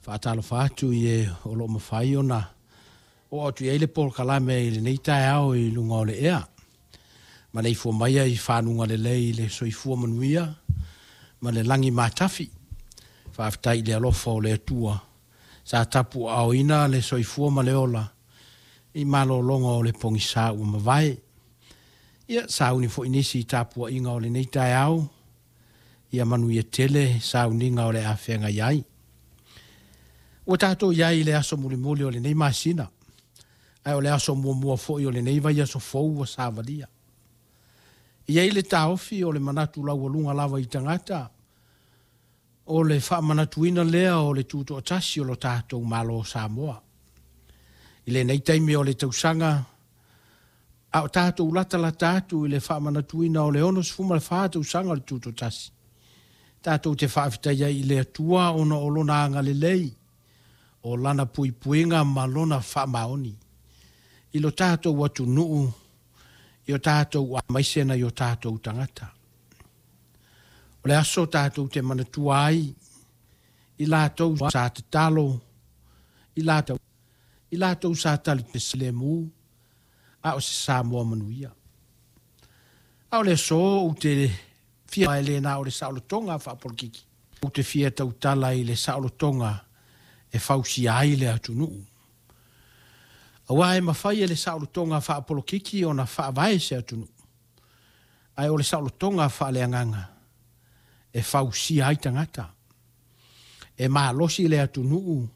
Faatalofa atu i e o lo o mafai ona oo atu i ai le polokalame i lenei taeao i luga o le ea. Maleifua maia i faguga lelei i le soifua manuia ma le lagi matafi. Faafetai i le alofa o le Atua sa tapuaaoina le soifua ma le ola i malologa o le pogisa ua mavae. Ia, sauni foi nisi i tapuaiga o lenei taeao, ia manuia tele sauniga o le a feagai ai. Ua tatou i ai i le aso mulimuli o lenei masina, ae o le aso muamua foi o lenei vaiaso fou ua savalia. E i ai le taofi o le manatu laualuga lava i tagata, o le faamanatuina lea o le tutoatasi o lo tatou Malo o Samoa. I lenei taimi o le tausaga, a o tatou latalata atu i le faamanatuina o le 64 tausaga o le Tutoatasi, tatou te faafetai ai i le Atua ona o Lona agalelei, o Lana puipuiga ma Lona faamaoni i lo tatou atunuu, i o tatou aemaise nai o tatou tagata. O le aso tatou te manatua ai i latou sa tatalo, i latou, i latou sa talifilemu, a o se Samoa manuia. A o le aso ou te fia e le na o le saolotoga faapolokiki, ou te fia tautala i le saolotoga e fausia ai le atunuu. Aua e mafai e le saolotoga faapolokiki ona faavae se atunuu, ae o le saolotoga faaleagaga e fausia ai tagata. E malosi le atunuu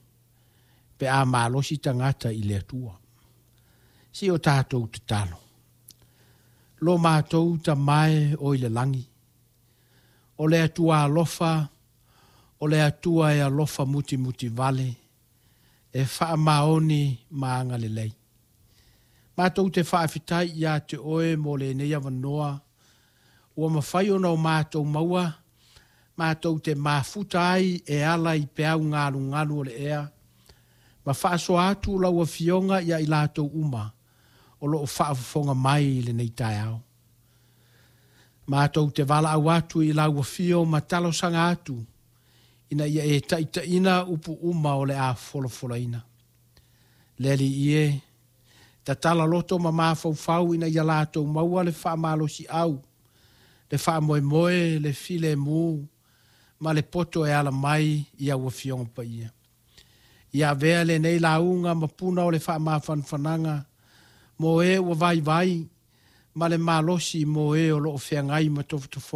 pe a malosi tagata i le Atua. Si o tatou tatalo. Lo matou Tama e o i le lagi, o le Atua alofa, o le Atua e alofa mutimutivale, e faamaoni ma agalelei. Matou te faafetai ia te oe mo lenei avanoa ua mafai ona o matou maua, matou te mafuta ai e ala i peau galugalu o le ea, ma faasoa atu lau Afioga ia i latou uma o lo o faafofoga mai i lenei taeao. Matou te valaau atu i lau Afio ma talosaga atu ina ia e taitaiina upu uma o le a folafolaina. Le Alii e, tatala loto ma mafaufau ina ia latou maua le faamalosiau, le faamoemoe, le filemu ma le poto e ala mai i au Afioga Paia. Ia avea lenei lauga ma puna o le faamafanafanaga mo e ua vaivai ma le malosi mo e o lo o feagai ma tofotofoga.